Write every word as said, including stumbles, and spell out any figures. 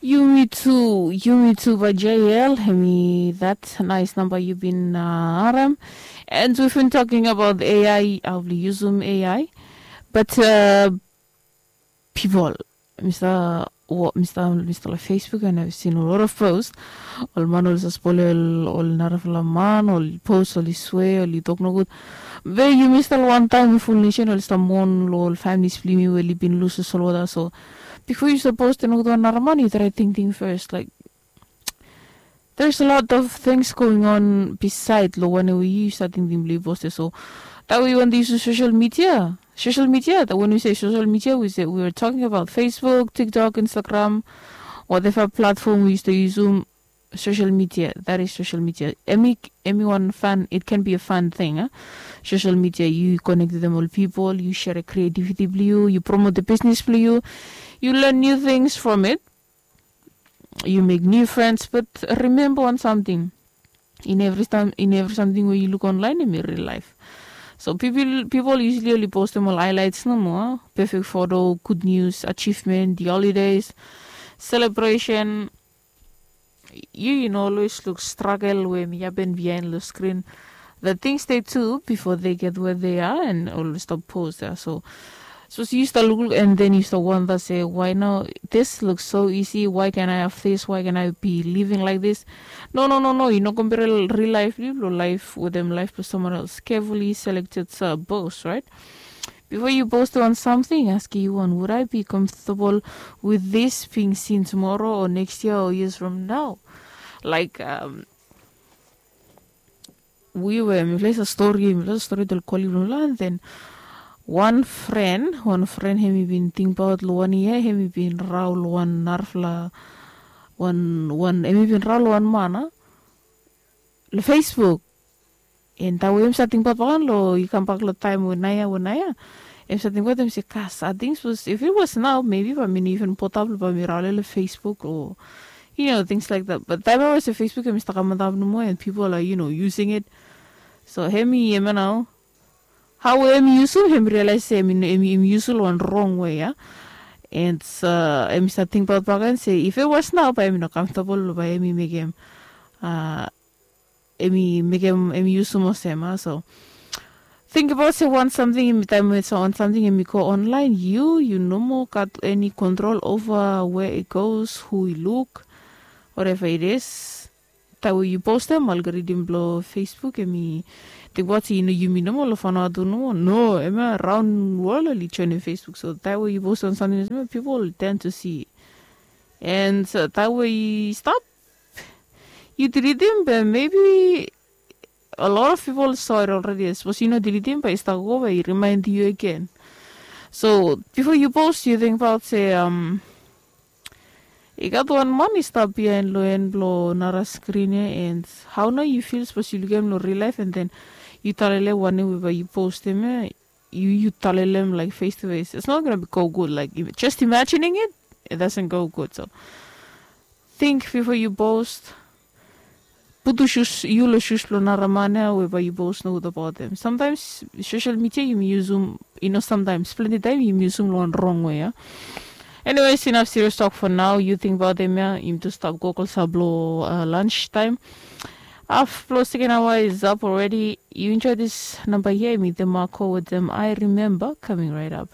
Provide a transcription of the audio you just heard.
Yumi tu, yumi tu bae J L, hemi that nice namba yu bin harem. And we've been talking about A I, hao oli yusum A I. But uh, people, Mr. Mr. Mr. Like Facebook, and I've seen a lot of posts. Ol man oli saspoil ol narafala man, oli post, oli swe, oli tok nogud. Be yu Mr. One time full nation oli stap mon lo ol families blong yumi we oli bin lus ol solwota. So before yu stap post nogud wan nara man, yu try tingting first, like, there's a lot of things going on beside lo wanem we yu stap tingting blong yu post. So that we want to use social media. Social media, that when we say social media, we say we are talking about Facebook, TikTok, Instagram, whatever platform we used to use um, social media. That is social media. Hemi hemi wan fun, it can be a fun thing, huh? Social media, yu connect with them all people, yu share creativity blong yu, yu promote the business blong yu, yu learn new things from it, yu make new friends. But remember wan something, in every time, in every something we yu look online, in real life. So people people usually only post them all highlights nomo, perfect photo, good news, achievement, the holidays, celebration. Yu yu no always look struggle we hemi happen behind the screen. The things they do before they get where they are and always stop post there. So so yu start look and then yu start wonder say, why now this looks so easy? Why can I have this? Why can I be living like this? No, no, no, no. Yu no compare real life, live lo life with them life with someone else. Carefully selected uh, boss, right? Before you post on something, ask you one, would I be comfortable with this being seen tomorrow or next year or years from now? Like um, we were, mi ples a story, mi ples a story del koli blong lan then one friend, one friend hemi bin tingbaot lo wan year hemi bin rau lo wan narafala wan wan hemi bin rau lo wan man a lo Facebook. And tawe hemi sa tingbaot bakan lo i kambak lo taim we naia we naia, hemi sa tingbaot hemi se, kas, I think suppose if it was now, maybe bae mi no even potap lo bae mi rau lo Facebook or you know, things like that. But taim ae se Facebook hemi stap kam antap nomo and people are, you know, using it. So hemi hemia nao, hao hemi yusum, hemi realize se hemi hemi yusum lo wan wrong way, a. And uh, hemi stap tingbaot baken se if it was now, bae hemi no comfortable lo bae hemi mekem uh, hemi mekem hemi yusum olsem, a. So tingbaot se wan samting hemi taim we wan samting hemi go online, yu yu no moa gat eni kontrol ova where it goes, who i luk, whatever it is. Taim we yu postem, algorithm blong Facebook hemi tingbaot se yumi nomo lo Vanuatu nomo, no, hemia raon wol oli joinim Facebook. So taim we yu postem wan samting olsem, people tend to see. And uh, taim we i stap, yu dilitim, be maybe a lot of people saw it already. Sapos yu no dilitim, bae i stap go bae i remind yu agen. So bifo yu post, yu tingbaot se um, i gat wan man i stap biaen lo en blo nara skrin ya, and hao nao yu fil sapos yu lukim lo real life and then yu talele wanem we bae yu postim ya, yu yu talele em like face to face. It's not gonna be go good. Like, just imagining it, it doesn't go good. So think before you post. Putum sus, yu lo sus blo nara man ya we bae yu post nogut abaot em. Sometimes social media yumi yusum, i no sometimes, plenti taim yumi yusum lo wan wrong way ya. Anyways, enough serious talk for now. Yu tingbaot em ya, yumi tu stap go klosap lo uh, lunch time. Haf blo second hour is up already. You enjoy this number here, mi the Marco with them. I remember coming right up.